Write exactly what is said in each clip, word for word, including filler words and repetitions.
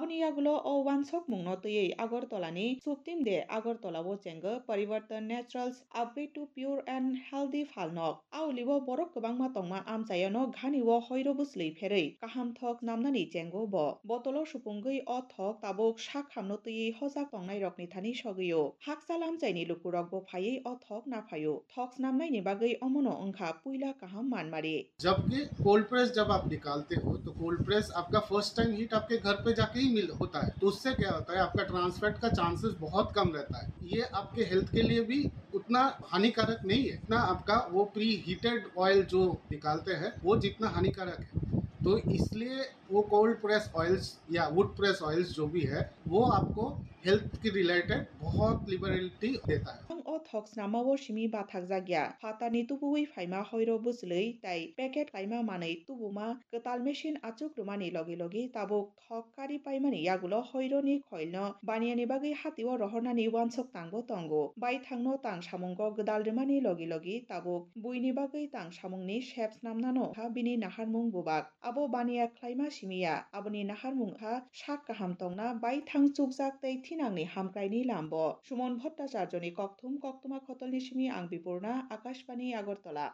Ni yagulo o wansokmungno twiwi Agartala ni Suptim de Agartala o chengo Parivartan Naturals Upgrade to Pure and Healthy Phalnok. A ulio borok kwbangma tongma amchaiono ghani o hoiro bwchwlwi pherwi kaham thok snamnani chengo bo. Botolo supungwi o thok tabuk sak hamno twiwi hojak tongnairokni thani sogwio. Hakchal amchaini lukurokbo phaiwi o thok naphaio. Thok snamnaini bagwi omono wngkha puila kaham manmari. जबकि cold press जब आप निकालते हो तो cold press आपका first time heat आपके घर पे जाके ही मिल होता है, तो उससे क्या होता है, आपका ट्रांसफैट का चांसेस बहुत कम रहता है। ये आपके हेल्थ के लिए भी उतना हानिकारक नहीं है, इतना आपका वो प्री हीटेड ऑयल जो निकालते हैं वो जितना हानिकारक है। तो इसलिए वो कोल्ड प्रेस ऑयल्स या वुड प्रेस ऑयल्स जो भी है वो आपको हेल्थ के रिलेटेड बहुत लिबरेलिटी देता है। Ang o thok snamao simi bathakjak ya. Phatarni tubuwi phaima hoiro bwchwlwi tai packet kaima manwi tubuma kwtal machine achuk rwmani logi logi tabuk thok kari paimani yagulo hoironi khoilno baniyani bagwi hatio rohornani wansok tangbo tongo. Baithangno tang samungo gwdal rwmani logi logi tabuk buini bagwi tang samungni sep snamnano kha bini naharmung bubak. Abo baniya khlaima simi ya, aboni naharmung kha sak kaham tongna baithang chukjak tei thinangni hamkraini lambo. Sumon Bhattacharjoni kokthum koktwma khotolni simi ang Bipurna, Akashbani Agartala.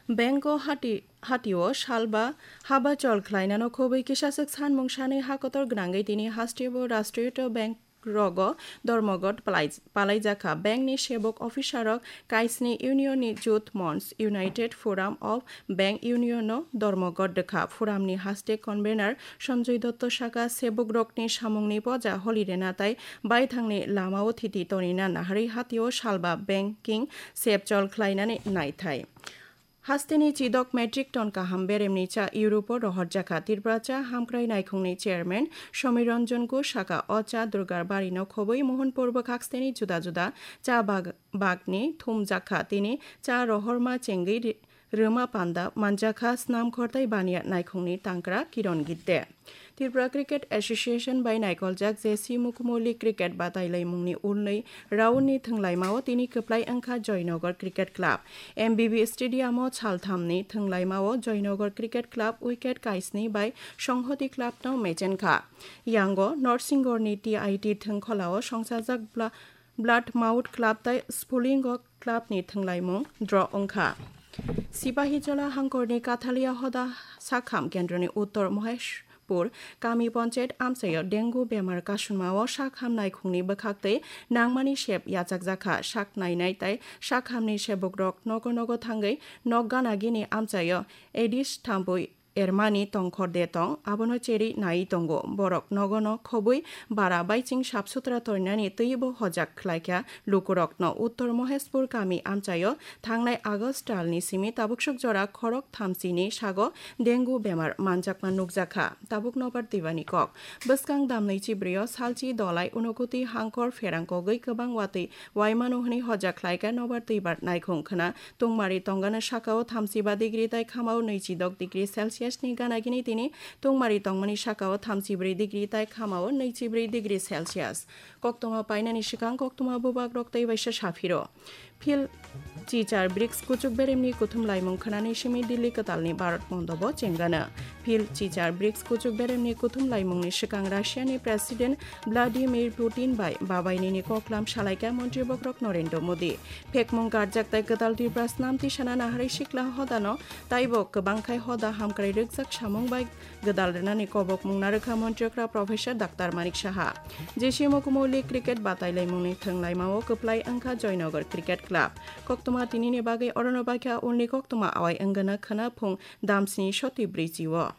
Bank o hati, hatio salba haba chol khlainano khobwi kisaswk sanmung sanwi ha kotor gwnangwi tini hasteo Rashtriya Bank rogo dormogot palai-, palaijakha. Bank ni sebok officer rok kaisni union ni Youth Mons, United Forum of Bank Union no dormogot rwkha. Forum ni haste convener Sanjoy Dotto saka, sebok rokni samungni poja holi rena tai baithangni lamao thiti tonina naharwi hatio salba banking sep chol khlainani naithai. Hasteni chidok metric ton kaham beremni cha Europe-o rohorjakha. Tripura cha hamkrai naikhungni chairman Somir Ranjan Ghosh saka, o cha Durgar barino khobwi Mohanpur bwkhaksteni juda juda cha bag-, bagni thumjakha. Tini cha rohorma chengwi ri-, rwma panda manjakha snam khortai baniya naikhungni tangkra Kiron Gidde. Tripura Cricket Association bai naikoljak J C Mukumoli cricket batailaimungni ulnwi round ni thwnglaimao tini kwplai wngkha Joynagar Cricket Club. M B B Stadium o salthamni thwnglaimao Joynagar Cricket Club wicket kaisni bai Songhoti Club no mechenkha. Yango Norsinghor ni T I T thwngkholao songchajak Bla-, Bloodmouth Club tai Sphulingo Club ni thwnglaimung draw wngkha. Sipahijola hangkorni Kathalia hoda sakham kendroni uttor Moheshpur kami panchayat amchaio dengue bemar kasunmao sakham naikhungni bwkhaktwi nangmani sep yachakjakha. Sak nainai tai sakhamni sebukrok nogo nogo thangwi nok gana gini amchaio Aedes thambwi ermani tongkhor de tong, abono cherwi naiwi tongo. Borok nogono khobwi bara baiching sap sutra toinani twibo hojak khlaikha lukurokno. Uttor Moheshpur kami amchaio thangnai August talni simi tabuksuk jora khorok thamsini sago dengue bemar manjakma nukjakha. Tabuk nobar twibani kok. Bwskang damnwi chibrio salchi dolai Unokoti hangkor pherang kogwi kwbang watwi waimano hwnwi hojak khlaikha nobar twibar naikhung khna. Tungmari tongani sakao thamsiba degree tai khamao nwichidok degree Celsius ni gana gini tini tungmari tongmani sakao thamsibrwi degree tai khamao nwichibrwi degree Celsius. Koktwma painani swkang koktwma bubagrok tei waisa saphiro. Phil Chichar brics kuchuk beremni kuthum laimung khnani simi Delhi kwtalni Bharat Mondobo chengana. Phil Chichar brics kuchuk beremni kuthum laimungni swkang Russiani President Vladimir Putin bai babainini koklam salaikha Montri Bokrok Narendra Modi. Phekmung karjak tai kwtal Tripura snam tisana naharwi sikla hodano taibo kwbangkhai hoda hamkrai rwkjak samung bai gwdal rwnani kobokmung narwkha Montri okra Professor Doctor Manik Saha. J C Mukumoli cricket batailaimungni thwnglaimao kwplai wngkha Joynagar Cricket Club. Koktwma tinini bagwi orono baikha, ulni koktwma awai wngana khwna phung damsni soti brwichi o.